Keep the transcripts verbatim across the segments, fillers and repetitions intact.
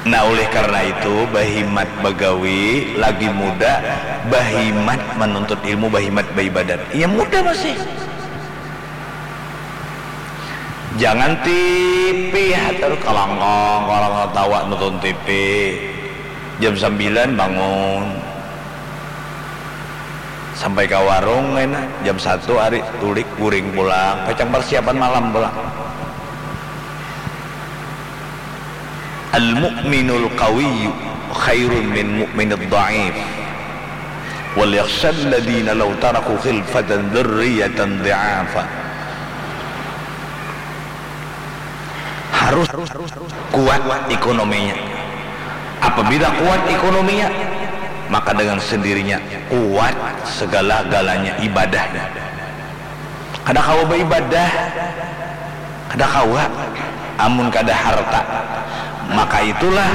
Nah, oleh karena itu, bahimat bagawi lagi muda, bahimat menuntut ilmu, bahimat baibadat. Iya muda masih. Jangan tipi hatar kalangkang, kalangkang tawa nonton tipi. Jam sambilan bangun. Sampai ka warung kena jam satu ari tulik guring pulang, pacang persiapan malam pulang. Al-mu'minul qawiyyu khairun min mu'minid dha'if. Wal yakhshal ladina law taraku khilfatan dzurriyyatan dhi'afa. Harus kuat ekonominya. Apabila kuat ekonominya, maka dengan sendirinya kuat segala-galanya ibadahnya. Kada kawa baibadah, kada kawa amun kada harta. Maka itulah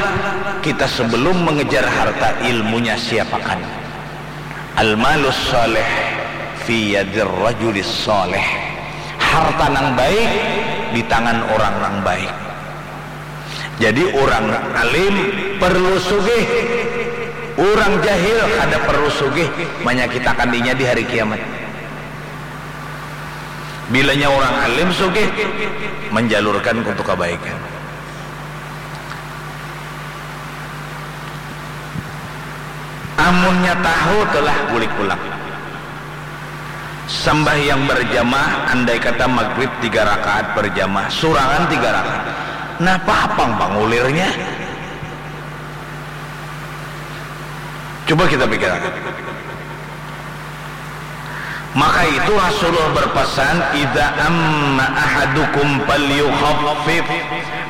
kita sebelum mengejar harta, ilmunya siapakan. Al-malus salih fi yadir rajulis salih. Harta nang baik di tangan orang nang baik. Jadi, orang alim perlu sugih, orang jahil kada perlu sugih manyakitakan inya di hari kiamat. Bilanya orang alim sugih, menjalurkan untuk kebaikan. Amunnya tahu telah bulik pulang. Sambahyang berjamaah, andai kata magrib tiga rakaat berjamaah, surangan tiga rakaat. Napa apang pangulirnya? Coba kita pikirkan. Maka itu Rasulullah berpesan, "Idza amma ahadukum falyukhaffif."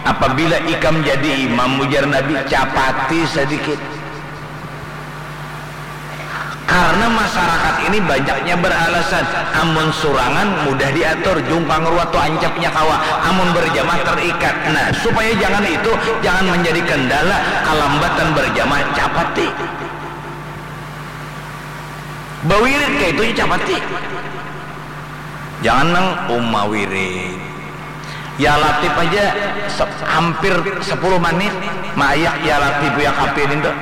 Apabila ikam jadi imam, ujar Nabi, capati sedikit. Karena masyarakat ini banyaknya beralasan, amun surangan mudah diatur, jungkang ruat tu ancapnya kawa, amun berjamaah terikat. Nah, supaya jangan itu, jangan menjadi kendala, kalambatan berjamaah, capati. Bawirid kaitu ja capati. Jangan nang uma wirid. Ya Latif aja se-, hampir sepuluh menit maayak Ya Latif, Ya Kafi nintu.